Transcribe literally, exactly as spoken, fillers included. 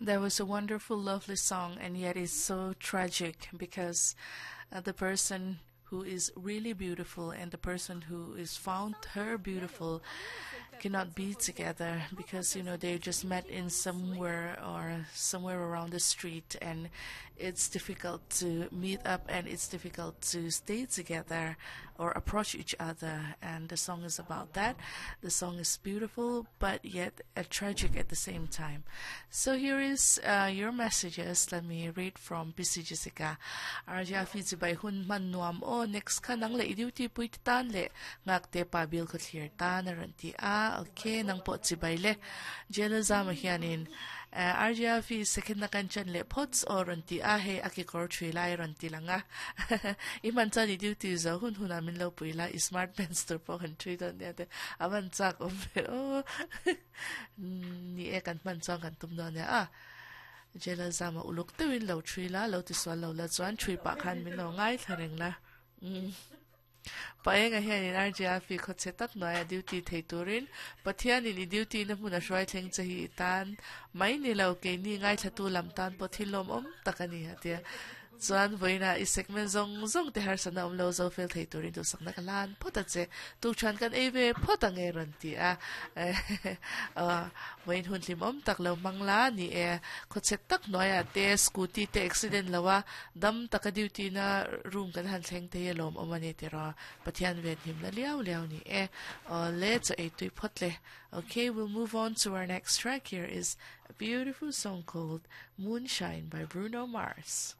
That was a wonderful, lovely song, and yet it's so tragic because uh, the person who is really beautiful and the person who is found her beautiful cannot be together because you know they just met in somewhere or somewhere around the street and it's difficult to meet up and it's difficult to stay together or approach each other and the song is about that the song is beautiful but yet uh, tragic at the same time so here is uh, your messages let me read from BC Jessica Arja fi bai hun man nuam o next kha nang le duty pui tan le ngak te pa bil kho thlir tan ran ti a okay nang po chi bai le jela zama hianin RGF second na kan chan le pots or ran ti a he aki kor thui lai ran ti langa i man chan i duty zo hun hun amin lo pui la i smart pants tur po kan thui don ne te aman chak om ve o ni e kan man chuan kan tum don ne a jela zama uluk tewin lo thui la lo ti swal lo la chuan thui pa khan min lo ngai thareng la mm paenga hian in RGF kho che tak noya duty thei turin pathian in i duty na hmun a hruai thleng che hi tan mai ni lo ke ni ngai thlatu lam tan po thilom om takani atia chuan voina i segment zong zong te har sana om lo zo fel thei turin tu sakna ka lan phota che tu chan kan eve phota nge ran ti a a voin hun hlim om tak lo mangla ni e kho che tak noya te scooty te accident lawa dam taka duty na room kan han thleng te lom omani te ra pathian ven him la liao liao ni e le cha e tui phot le okay we'll move on to our next track here is a beautiful song called Moonshine by Bruno Mars